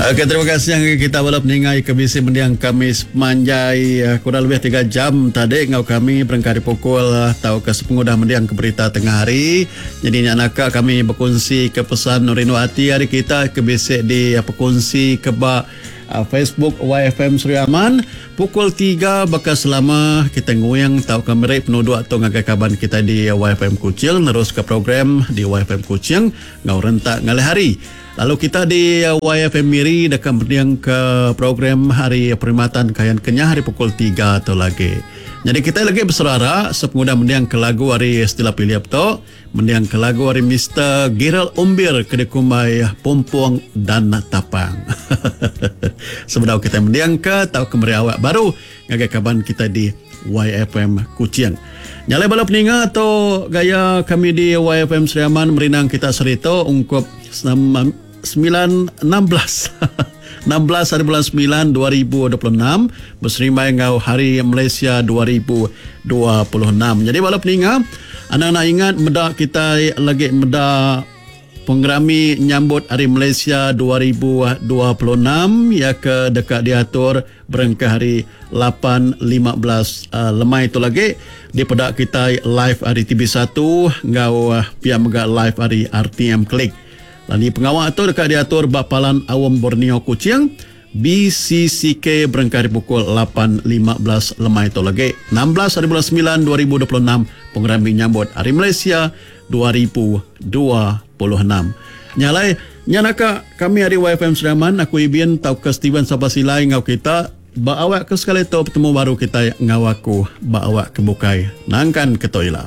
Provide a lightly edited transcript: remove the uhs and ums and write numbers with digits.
Okey, terima kasih ngagai kita bala peninga ke bisi mending kami sepemanjai eh, kurang lebih 3 jam tadi enggau kami berengkah ari pukul eh, tauka sepengudah mending ke berita tengah hari. Jadi nya naka kami bekunsi ke pesan rindu ati ari kita ke bisi di eh, pekunsi ke ba Facebook YFM Sri Aman pukul 3 baka selama kita nguing tauka meri penuduk tu ngagai kaban kita di YFM Kuching neruska program di YFM Kuching enggau rentak ngalih hari. Lalu kita di YFM Miri deka mendingka program Hari Perkhidmatan Kayan Kenyah hari pukul 3 tu lagi. Nyadi kitai lagi beserara sepengudah mendingka lagu ari Stella Philip tu, mendingka lagu ari Mister Gerald Umbir ke dikumbai Pumpung dan Tapang. Sebedau kitai mendingka tauka meri awak baru ngagai kaban kitai di YFM Kuching. Nya alai bala peninga tu gaya kami di YFM Sri Aman merindang kita sehari tu ungkup 9 16 16 hari bulan 9 2026 beserimbai enggau Hari Malaysia 2026. Jadi bala peninga anang enda ingat meda kitai lagi meda Pengerami Nyambut Hari Malaysia 2026 iya ke deka diatur berengkah hari 8.15 lemai tu lagi dipeda kitai live ari TV1 enggau pia mega live ari RTM Klik. Lalu pengawa tu deka diatur ba Palan Aum Borneo Kuching, BCCK berengkah ari pukul 8.15 lemai tu lagi. 16 hari bulan 9 2026 Pengerami Nyambut Hari Malaysia 2026. Nya alai, nya naka kami ari YFM Sri Aman, aku Ibin tauka Steven Sapa Silai enggau kita ba awak ke sekali tu betemu baru kitai enggau aku ba awak ke bukai nangkan ke tu ila.